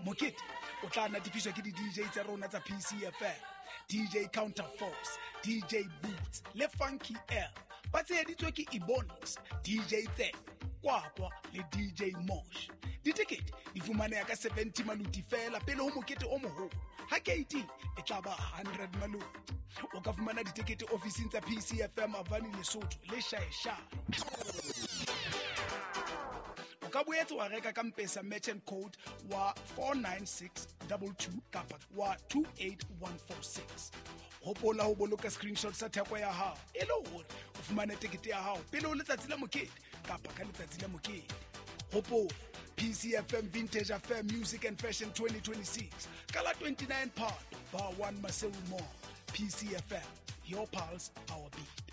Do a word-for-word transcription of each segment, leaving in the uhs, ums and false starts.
Mokete o tla natefiswa ke di-D J tsa rona tsa P C F M, D J Counterforce, D J Boots le Funky L. Ba tsheheditswe ke Ebonics, D J Tse, Kwakwa le D J Mosh. Ditekete di fumaneha ka seventy maluti fela pele ho mokete o moholo. Ha keiti e tla ba hundred maluti. O ka fumana ditekete ofising tsa P C F M Avani Lesotho le Shaeshae. O ka boetse wa reka ka M-Pesa merchant code wa four nine six double two kapa wa two eight one four six. Hopola ho boloka screenshot sa theko ya hao e le hore o fumane tekete ya hao pele ho letsatsi la mokete kapa ka letsatsi la mokete. Hopola P C F M Vintage Affair Music and Fashion twenty twenty-six ka la twenty-nine Phato, Bar one Maseru Mall. P C F M, your pulse, our beat.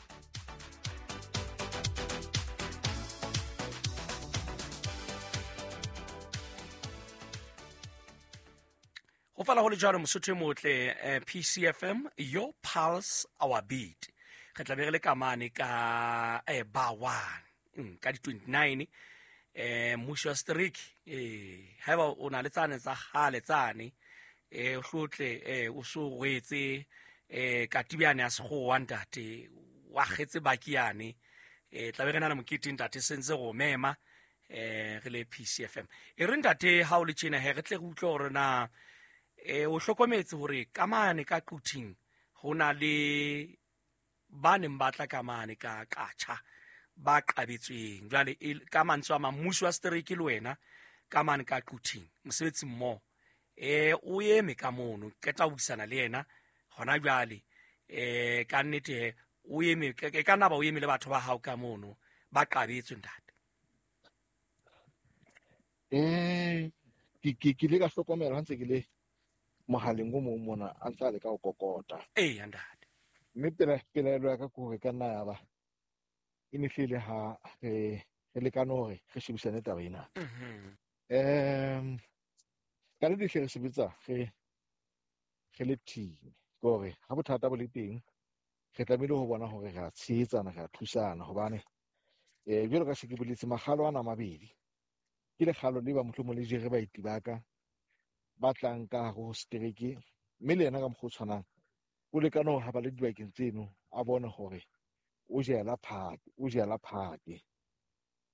Ho fala ho le jwalo Mosotho e motle, eh, P C F M, your pulse, our beat. Re tla be re le ka mane ka, eh, bar one, mm, ka di twenty-nine, eh, mmuso wa streak, eh, haeba o na le tsane tsa kgale tsane, eh, o hlotle, eh, o so rwetse, eh, katibiane ya sekgowa ntate, wa kgetse bakiane, eh, tla be re na le mokete ntate, sentse go mema, eh, re le P C F M. E re ntate, ha o le tjena he, re tle re utlwe hore na, eh, o hlokometse hore ka mane ka Quthing ho na le ba neng ba tla ka mane ka Qacha ba qabetsweng. Jwale e, ka mantswe a mang, mmuso wa setereke le wena ka mane ka Quthing mosebetsi mmoho, eh, o eme ka mono, qeta ho buisana le yena hona jwale, eh, ka nnete he, o eme, ke, ke ka nna ba o eme le batho ba hao ka mono ba qabetswe ntate. Eh, ke, ke, ke ile ka hlokomela ha ntse ke le mohaleng o mong mona a ntse a leka ho kokota. Ee, ntate. Mme pela, pelaelo ya ka ke hore ka nna ya ba e ne hlile ha re, re lekane hore re shebisane taba ena. Mhm. Em, ka nnete hle re sebetsa re, re le team, ke hore ha bothata bo le teng re tlamehile ho bona hore re a tshehetsana, re a thusana, hobane, eh, jwalo ka se ke boletse, makgalo ana a mabedi ke lekgalo le ba mohlomong le jere baeti ba ka ba tlang ka hare ho setereke, mme le yena ka mokgwa o tshwanang o lekane hore ha ba le dibakeng tseno a bone hore o jela phate, o jela phate.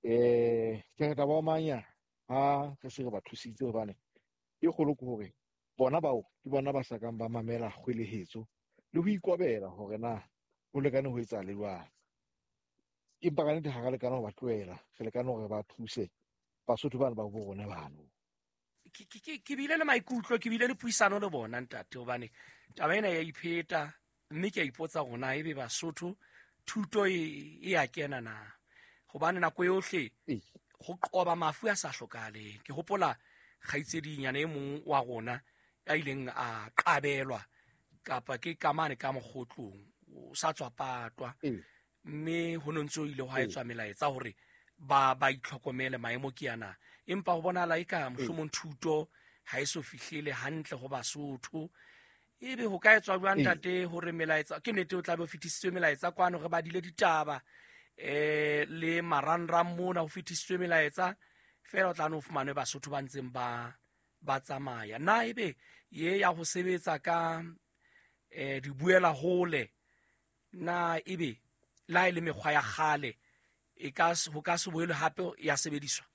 Eh, ke re tla ba omanya ha re se re ba thusitse, hobane e kgolo ke hore bona bao ke bona ba sa kang ba mamela kgwelehetso le ho ikobela hore na ho lekane ho etsa le jwang. Empa ka nnete ha re lekane ho ba tlohela, re lekane hore ba thuse Basotho bana ba bo rona bano. Ke, ke, ke, ke bile le maikutlo, ke bile le puisano le bona ntate, hobane taba ena ya ipheta, mme ke a ipotsa hore na ebe Basotho thuto e, e a kena na, hobane nako yohle Ee. ho qoba mafu a sa hlokahaleng. Ke hopola kgaitsedinyana e mong wa rona ya ileng a qabelwa kapa ke kamane ka mokgotlong, o sa tswa patwa. Ee. Mme ho no ntso ile hwa Ee. etswa melaetsa hore ba, ba itlhokomele maemo ke ana, empa ho bonahala eka Ee. mohlomong thuto ha e so fihlele hantle ho Basotho. Ebe ho ka etswa jwang Ee. ntate hore melaetsa, ke nnete o tla be o fetisitswe melaetsa kwano, re badile ditaba, eh, le marangrang mona ho fetisitswe melaetsa, feela o tla no fumanwe Basotho ba ntseng ba, ba tsamaya. Na ebe ye ya ho sebetsa ka, eh, dibuela hole, na ebe la e le mekgwa ya kgale e ka s-, ho ka se boele hape ya sebediswa?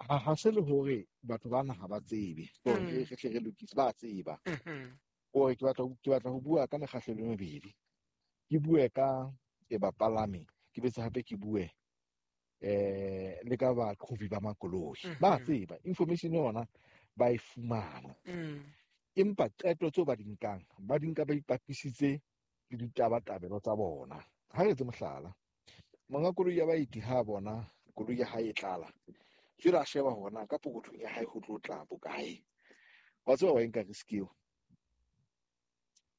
Ha, ha se le hore batho ba naha ba tsebe, hore Mm. re hle re lokise, ba tseba. Mm-hmm. Hore ke batla, ke batla ho bua ka mekgahlelo e mebedi. Ke bue ka e bapalami, ke betse hape ke bue, eh, le ka baqhobi ba makoloi. Ba Mm-hmm. tseba, information yona ba e fumana. Mm. Empa qeto tseo ba di nkang, ba di nka ba ipapisitse le ditabatabelo tsa bona. Ha re etse mohlala, monga koloi ya baeti ha bona koloi ya hae e tlala, jwale a sheba hore na ka pokothong ya hae ho tlo tla bokae. Wa tseba wa e nka risk eo.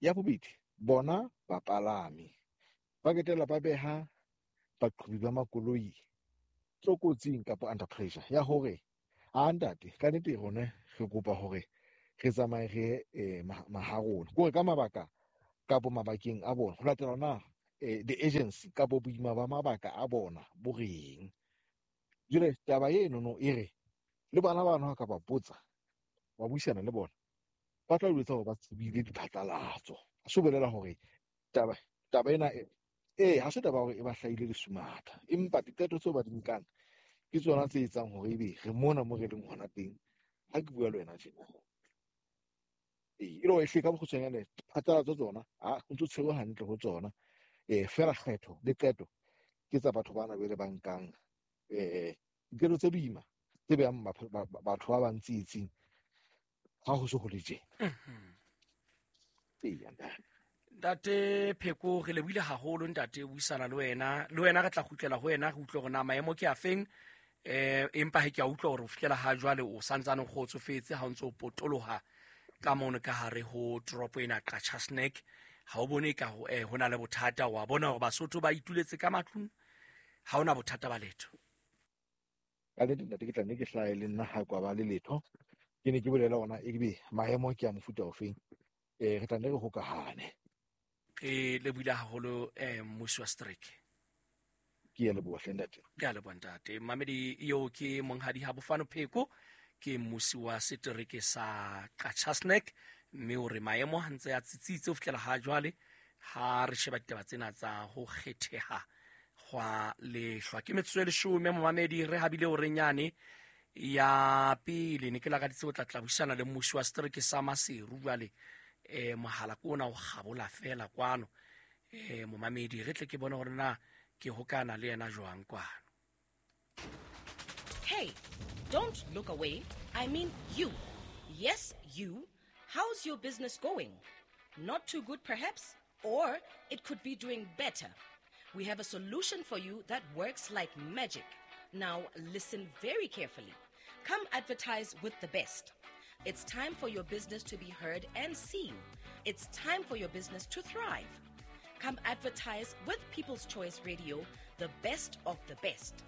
Ya bobedi, bona bapalami ba qetella ba beha baqhobi ba makoloi tlokotsing kapa under pressure ya hore a ntate ka nnete rona re kopa hore re tsamaye re, eh, ma-, maharona, ke hore ka mabaka kapo mabakeng a bona ho latela na, eh, the agency kapo boima ba mabaka a bona bo reng. Jwale taba eno no e re Le bana bano ha ka ba botsa, wa buisana le bona, ba tla o jwetsa hore ba tsebile diphatlalatso. Ha se bolela hore taba taba ena e ha se taba hore e ba hlahile lesumatha, empa diqeto tseo ba di nkang ke tsona tse etsang hore ebe re mona mo re leng hona teng. Ha ke bua le wena tjena, ee, e le hore ehlile ka bokgutshwanyane phatlalatso tsona ha o ntso tshwerwe hantle ho tsona. Eh, fela kgetho le qeto ke tsa batho bana bele ba nkang eh diqeto tse boima tse behang batho ba bang tsietsing ha ho se ho le tjena. Ee, ntate. Ntate Pheko, re lebohile haholo ntate buisana le wena. Le wena re tla kgutlela ho wena re utlwe hore na maemo ke a feng. Eh, empa he ke a utlwa hore ho fihlela ha jwale o santsane o kgotsofetse ha o ntso o potoloha ka mono ka hare ho toropo ena Qacha's Nek. Ha o bone ka ho eh, ho na le bothata, wa bona hore Basotho ba ituletse ka matlung, ha hona bothata ba letho. Ka nnete ntate, ke tla nne ke hlahe le nna ha kwa ba le letho. Ke ne ke bolela ona ebe maemo ke a mofuta ofeng. Eh, re tla nne re hokahane. Re lebohile haholo eh mmusi wa setereke. Ke a leboha hle ntate. Ke a leboha ntate. Mamedi eo ke monghadi Habofano Pheko, ke mmusi wa setereke sa Qacha's Nek, mme o re maemo ha ntse a tsitsitse ho fihlela ha jwale ha re sheba ditaba tsena tsa ho kgetheha hwa lehlwa. Ke metsotso e leshome momamedi, re habile hore nyane ya pele ne ke lakaditse ho tla tla buisana le mmusi wa setereke sa Maseru. Jwale eh mohala ke ona o kgabola fela kwano. Eh momamedi, re tle ke bone hore na ke hokana le yena jwang kwano. Hey, don't look away. I mean you. Yes, you. How's your business going? Not too good perhaps, or it could be doing better. We have a solution for you that works like magic. Now listen very carefully. Come advertise with the best. It's time for your business to be heard and seen. It's time for your business to thrive. Come advertise with People's Choice Radio, the best of the best.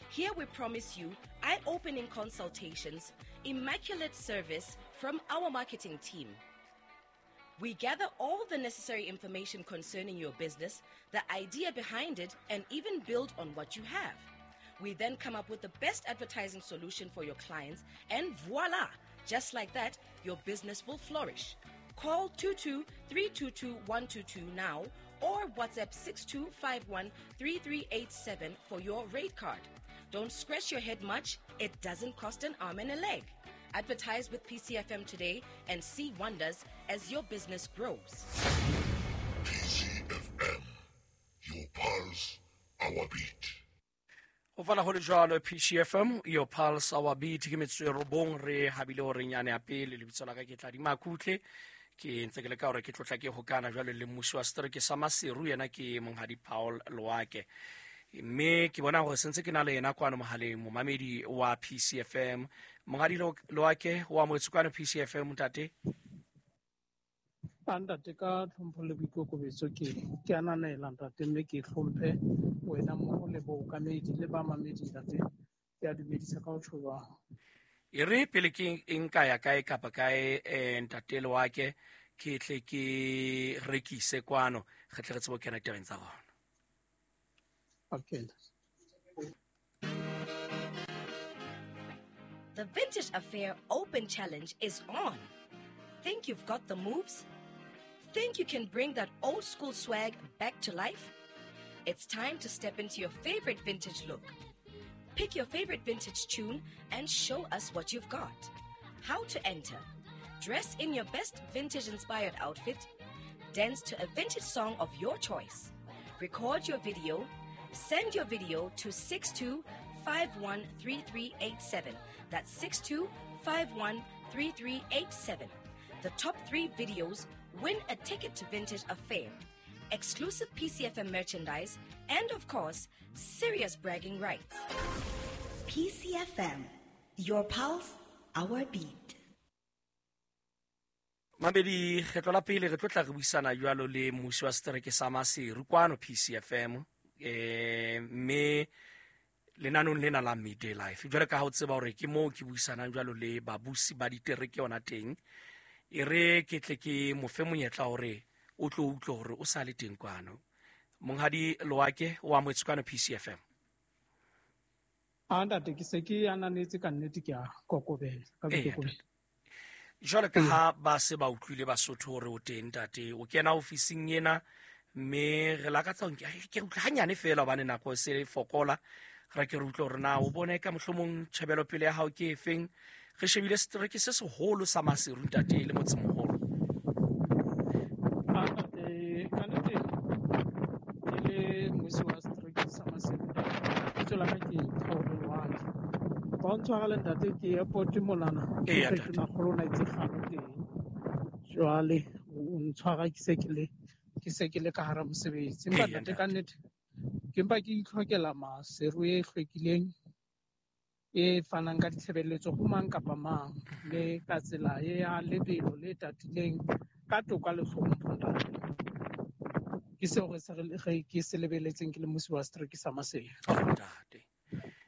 Here we promise you eye-opening consultations, immaculate service from our marketing team. We gather all the necessary information concerning your business, the idea behind it, and even build on what you have. We then come up with the best advertising solution for your clients, and voila! Just like that, your business will flourish. Call two two three two two one two two now or WhatsApp six two five one three three eight seven for your rate card. Don't scratch your head much. It doesn't cost an arm and a leg. Advertise with P C F M today and see wonders as your business grows. P C F M, your pulse, our beat. Ho fana ho le jwalo, P C F M, your pulse, our beat. Ke metsotso e robong re habile hore nyane ya pele. Lebitso la ka ke Tladi Makutle. Ke ntse ke leka hore ke tlotla ke hokana jwale le mmusi wa setereke sa Maseru, yena ke monghadi Paul Loake. Mme ke bona hore sentse ke na le yena kwano mohaleng, momamedi wa P C F M. Monghadi Loake, wa amohetswe kwano P C F M, ntate? A ntate, ka tlhompho le boikokobetso ke ke ananela ntate, mme ke hlomphe wena mmoho le bookamedi le bamamedi ntate. Ke a dumedisa ka ho tjho jwang. E re pele ke nka ya kae kapa kae eh, ntate Loake, ke tle ke rekise kwano, re tle re tsebe ho kena ditabeng tsa rona. Okay. The Vintage Affair Open Challenge is on. Think you've got the moves? Think you can bring that old school swag back to life? It's time to step into your favorite vintage look. Pick your favorite vintage tune and show us what you've got. How to enter? Dress in your best vintage-inspired outfit. Dance to a vintage song of your choice. Record your video. Send your video to six two five one three three eight seven. That's six two five one three three eight seven. The top three videos win a ticket to Vintage Affair, exclusive P C F M merchandise, and of course, serious bragging rights. P C F M, your pulse, our beat. Mabedi, kgetlo la pele re tlo tla re buisana jwalo le mmusi wa setereke sa Maseru kwano P C F M, eh mme lenanong lena la Midday Life. Jwale ka ha o tseba hore ke moo ke buisanang jwalo le babusi ba ditereke yona teng, e re ke tle ke mo fe monyetla hore o tlo utlwe hore o sa le teng kwano. Monghadi Loake, o amohetswe kwano P C F M. A ntate ke se ke ananetse ka nnete ke a kokobela ka boikokobetso. Jwale ka ha ba se ba utlwile Basotho hore o teng ntate, o kena ofising ena mme re lakatsa ke utlwe hanyane feela hobane nako e se fokola, re ke re utlwe hore na o bone ka mohlomong tjhebelopele ya hao ke efeng. Re shebile setereke se seholo sa Maseru ntate le motsemoholo. A ntate ka nnete ke le mmusi wa setereke sa Maseru, lebitso la ka ke Kgaolo Loaki. Ba o ntshwarele ntate ke airport monana. Eya, Ke ntate. Tonakgolo o na itse kgalo teng. Jwale o ntshwara ke se ke le ke se ke le ka hara mosebetsi. Empa Eya, ntate ka ntate. nnete ke mpa ke itlhokela Maseru e hlwekileng e fanang ka ditshebeletso ho mang kapa mang le ka tsela e ya lebelo le tatileng ka toka le hlompho ntate. Ke seo re se re ke se lebeletseng ke le mmusi wa setereke sa Maseru. Oh, ntate.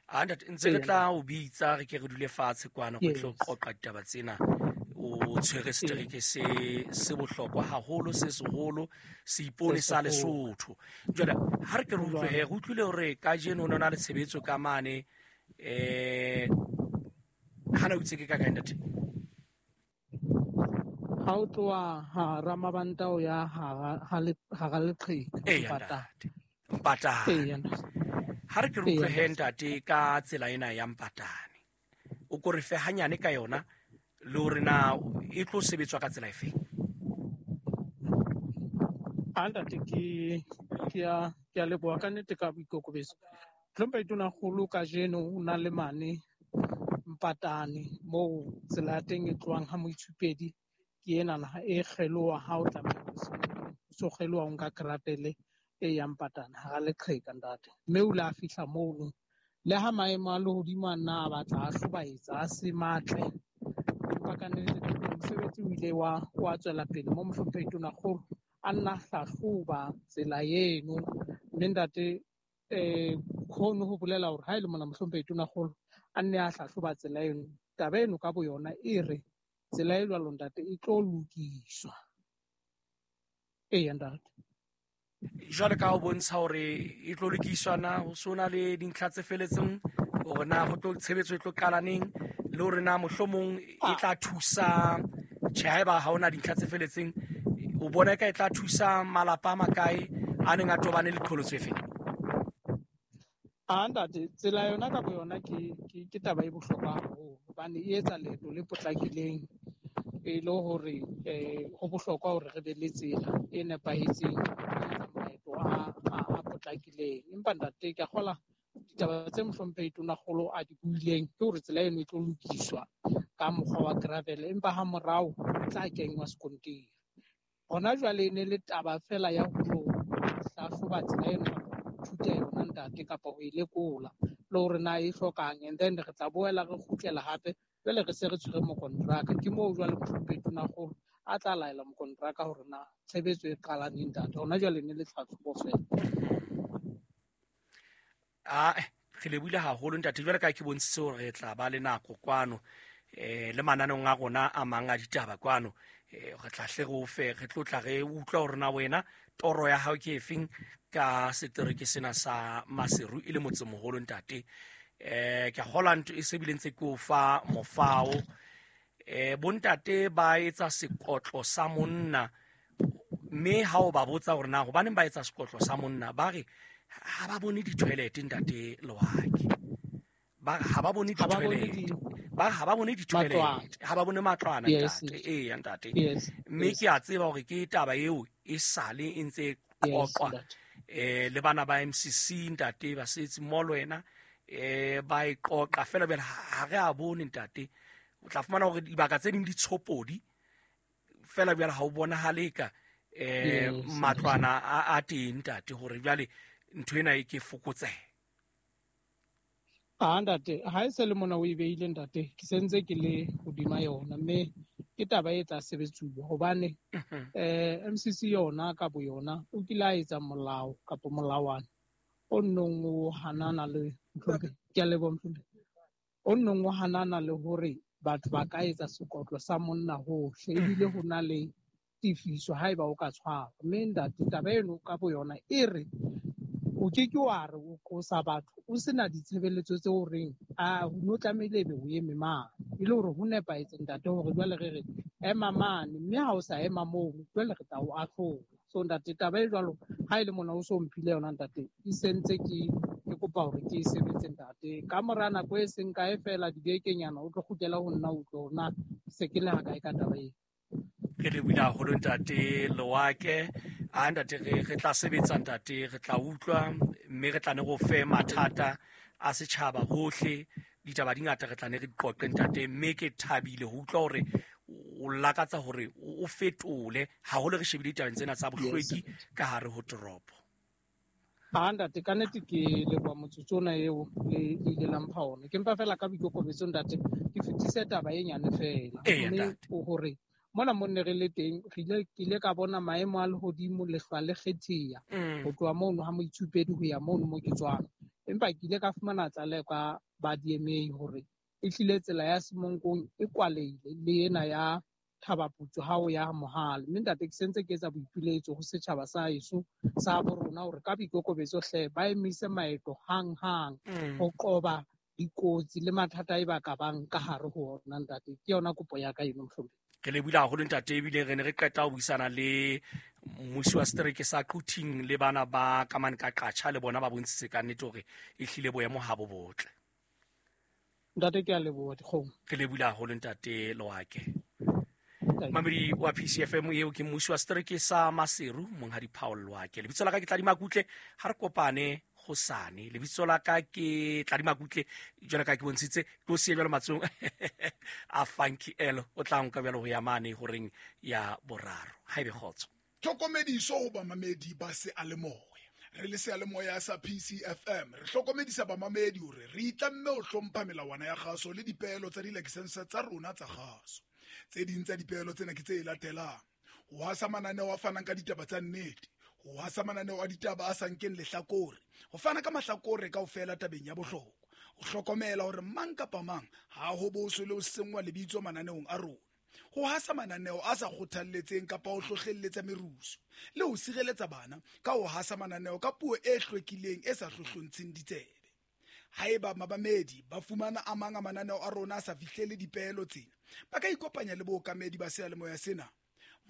A ntate ntse re Eya. tla o bitsa re ke re dule fatshe kwana go tlo Yes. qoqa ditaba tsena. O tshwere setereke se se bohlokwa haholo, se seholo, seipone Se sa seholo. Lesotho. Jwale ha re ke re utlwe Jwale. he, re utlwile hore kajeno ho na le tshebetso ka mane eh hana o itse ke ka kae ntate? Ha o tloha hara Mabanta o ya hara ha le hara Leqheka Eya Mpatane. ntate. Mpatane. Eya ntate. Ha re ke re Eya utlwe he ntate. ntate ka tsela ena ya Mpatane. O ko re fe hanyane ka yona le hore na e tlo sebetswa ka tsela efe? A ntate ke ke a ke a leboha ka nnete ka boikokobetso. Hlomphehi Tonakgolo kajeno o na le mane Mpatane moo tsela ya teng e tlohang ha Moitshupedi ke enana e kgeloha ha o tlameha ho so kgeloha o nka krapele e yang Mpatane hara Leqheka ntate. Mme o ile a fihla mono le ha maemo a lehodimo a nna a batla a hlobaetsa a se matle, empa ka nnete mosebetsi o ile wa wa tswela pele mo mohlomphehi Tonakgolo a nna a hlahloba tsela eno. Mme ntate eh hono ho bolela hore ha e le mona mohlomphehi Tonakgolo a nne a hlahloba tsela eno, taba eno ka boyona e re tsela e jwalo ntate e tlo lokiswa. Eya ntate. Jwale ka ho bontsha hore e tlo lokiswa na ho so na le dintlha tse feletseng hore na ho tlo tshebetso e tlo qala neng le hore na mohlomong e tla thusa tjhe haeba ha hona dintlha tse feletseng o bona eka e tla thusa malapa a makae a neng a tobane le qholotso e feng? A ntate tsela yona ka boyona ke ke ke taba e bohlokwa haholo hobane e etsa leeto le potlakileng e le hore eh ho bohlokwa hore re be le tsela e nepahetseng e etsang maeto a a a potlakileng. Empa ntate ke a kgola ditaba tse mohlomphehi Tonakgolo a di buileng ke hore tsela eno e tlo lokiswa ka mokgwa wa gravel empa ha morao e tla kenngwa sekontiri. Hona jwale e ne le taba fela ya ho lo hlahloba tsela eno kapa ho ithuta yona ntate kapa ho e lekola le hore na e hlokang, and then re tla boela re kgutlela hape jwale re se re tshwere mokontraka. Ke moo jwale mohlomphehi Tonakgolo a tla laela mokontraka hore na tshebetso e qala neng ntate. Hona jwale e ne le tlhahlobo fela. Ah, re lebohile haholo ntate. Jwale ka ke bontshitse hore re tla ba le nako kwano eh le mananeong a rona a mang a ditaba kwano eh re tla hle re o fe re tlo tla re utlwa hore na wena toro ya hao ke efeng ka setereke sena sa Maseru e le motsemoholo ntate. Eh ke a kgolwa ntho e se bile ntse ke o fa mofao. Eh bontate ba etsa sekotlo sa monna mme ha o ba botsa hore na hobaneng ba etsa sekotlo sa monna ba re ha ba bone di-toilet ntate Loaki. Ba re ha ba bone Ha ba bone di-toilet. di Ba re ha ba bone matlwana. di-toilet. Ha ba bone matlwana Yes, ntate. yes. Eya ntate. Yes, Mme yes. ke a tseba hore ke taba eo e sale e ntse e Yes, qoqwa ntate. eh le bana ba M C C ntate ba setse mo le wena eh ba e qoqa fela bjale ha re a bone ntate. O tla fumana hore dibaka tse ding di tshopodi fela bjale ha o bonahale ka eh Yes, ntate. matlwana a a teng ntate hore jwale ntho ena e ke fokotsehe. A ntate, ha e se le mona o e beile ntate, ke sentse ke le hodima yona mme ke taba e tla sebetsuwa hobane eh M C C yona ka boyona o kile a etsa molao kapa molawana o nnong o hanana le mohlomphehi. Ke a leboha mohlomphehi. O nnong o hanana le hore batho ba ka etsa sekotlo sa monna hohle ebile ho na le tefiso haeba o ka tshwarwa. Mme ntate taba eno ka boyona e re O ke ke wa re o qosa batho o sena ditshebeletso tse o reng a no tlamehile ebe o eme mane, e le hore ho nepahetse ntate hore jwale re re ema mane, mme ha o sa ema moo jwale re tla o ahlola. So ntate, taba e jwalo ha e le mona o so mphile yona ntate, e sentse ke ke kopa hore ke e sebetse ntate. Ka mora nako e seng kae fela dibekenyana o tlo kgutlela ho nna o tlo na se ke le ha kae ka taba ena. Re lebohile haholo ntate Loake. A ntate re re tla sebetsa ntate, re tla utlwa mme re tla ne go fe mathata a setjhaba hohle, ditaba di ngata re tla ne re di qoqe ntate, mme ke thabile ho utlwa hore o lakatsa hore o fetole haholo re shebile ditabeng tsena tsa bohlweki ka hare ho toropo. Ha ntate, ka nnete ke leboha motsotso ona eo le ile la mpha ona. Ke mpa fela ka boikokobetso ntate, ke fetise taba e nyane fela. Mme hore mona mo ne re le teng, re ile ke ile ka bona maemo a lehodimo lehlwa le kgetheha ho tloha mono ha moitsupedi ho ya mono mo ke tswang. Empa ke ile ka fumana tlaleho ka ba D M A hore e hlile tsela ya Semonkong e kwalehile le ena ya Thabaputsu ha o ya Mohale. Mme ntate ke sentse ke etsa boipiletso ho setjhaba sa heso sa bo rona hore ka boikokobetso hle ba emise maeto hanghang ho qoba dikotsi le mathata e ba ka bang ka hare ho ona ntate. Ke yona kopo ya ka eno mohlomphehi. Re lebohile haholo ntate, ebile re ne re qeta ho buisana le mmusi wa setereke sa Quthing le bana ba kamane ka Qatjha, le bona ba bontshitse ka nnete hore e hlile boemo ha bo botle. Ntate ke a leboha dikgomo. Re lebohile haholo ntate Loake. Mamedi wa P C F M eo ke mmusi wa setereke sa Maseru, monghadi Paul Loake. Lebitso la ka ke Tladi Makutle, ha re kopane hosane. Lebitso la ka ke Tladi Makutle, jwalo ka ke bontshitse, ke o siye jwalo matsong a Funky L, o tla nka jwalo ho ya mane horeng ya boraro. Ha ebe kgotso. Tlhokomediso ho bamamedi ba seyalemoya. Re le seyalemoya sa P C F M re hlokomedisa bamamedi hore re itlamme ho hlompha melawana ya kgaso le dipeelo tsa dilakesense tsa rona tsa kgaso. Tse ding tsa dipeelo tsena ke tse latelang: ho hasa mananeo a fanang ka ditaba tsa nnete, ho hasa mananeo a ditaba a sa nkeng lehlakore, ho fana ka mahlakore kaofela tabeng ya bohlokwa, ho hlokomela hore mang kapa mang ha ho boswe le ho senngwa lebitso mananeong a rona, ho hasa mananeo a sa kgothalletseng kapa ho hlohlelletsa merusu, le ho sireletsa bana ka ho hasa mananeo ka puo e hlwekileng e sa hlohlontsheng ditsebe. Haeba mabamedi ba fumana a mang a mananeo a rona a sa fihlele dipeelo tsena, ba ka ikopanya le bookamedi ba seyalemoya sena.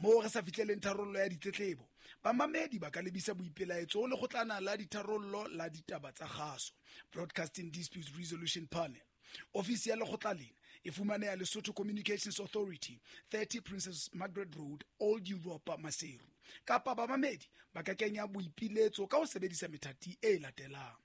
Moo re sa fihleleng tharollo ya ditletlebo, bamamedi ba ka lebisa boipelaetso ho lekgotlana la ditharollo la ditaba tsa kgaso, Broadcasting Disputes Resolution Panel. Ofisi ya lekgotla lena e fumaneha Lesotho Communications Authority, thirty Princess Margaret Road, Old Europa, Maseru. Kapa bamamedi ba ka kenya boipiletso ka ho sebedisa methati e latelang: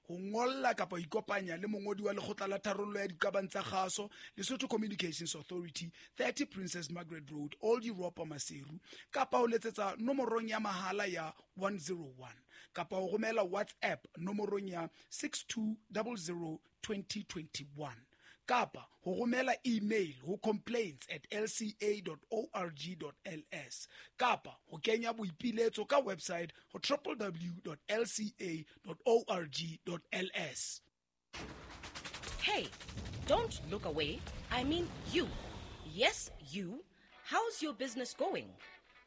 ho ngolla kapa ho ikopanya le mongodi wa lekgotla la tharollo ya diqabang tsa kgaso, Lesotho Communications Authority, thirty Princess Margaret Road, Old Europa, Maseru, kapa ho letsetsa nomorong ya mahala ya one zero one, kapa ho romela WhatsApp nomorong ya six two zero zero twenty twenty-one, kapa ho romela email ho complaints at l c a dot org dot l s, kapa ho kenya boipiletso ka website ho w w w dot l c a dot org dot l s. Hey, don't look away. I mean you. Yes, you. How's your business going?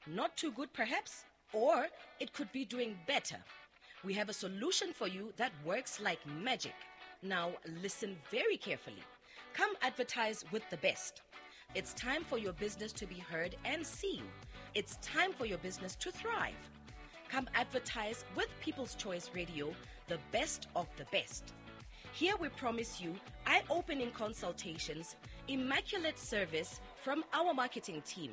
Not too good perhaps, or it could be doing better. We have a solution for you that works like magic. Now listen very carefully. Come advertise with the best. It's time for your business to be heard and seen. It's time for your business to thrive. Come advertise with People's Choice Radio, the best of the best. Here we promise you eye-opening consultations, immaculate service from our marketing team.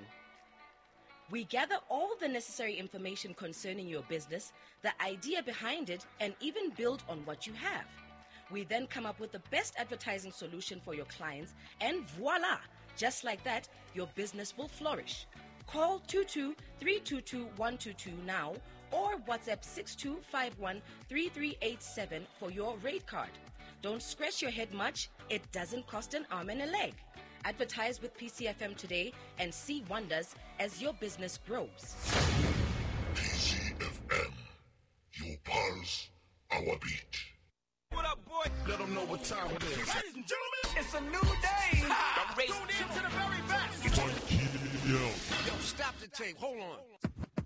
We gather all the necessary information concerning your business, the idea behind it, and even build on what you have. We then come up with the best advertising solution for your clients, and voila! Just like that, your business will flourish. Call two two three two two one two two now or WhatsApp six two five one three three eight seven for your rate card. Don't scratch your head much. It doesn't cost an arm and a leg. Advertise with P C F M today and see wonders as your business grows. P C F M, your pulse, our beat. What up, boy? Let them know what time it is. Ladies and gentlemen, it's a new day. Ha! Tune in to the very best. Yo. Yo, stop the tape. Hold on.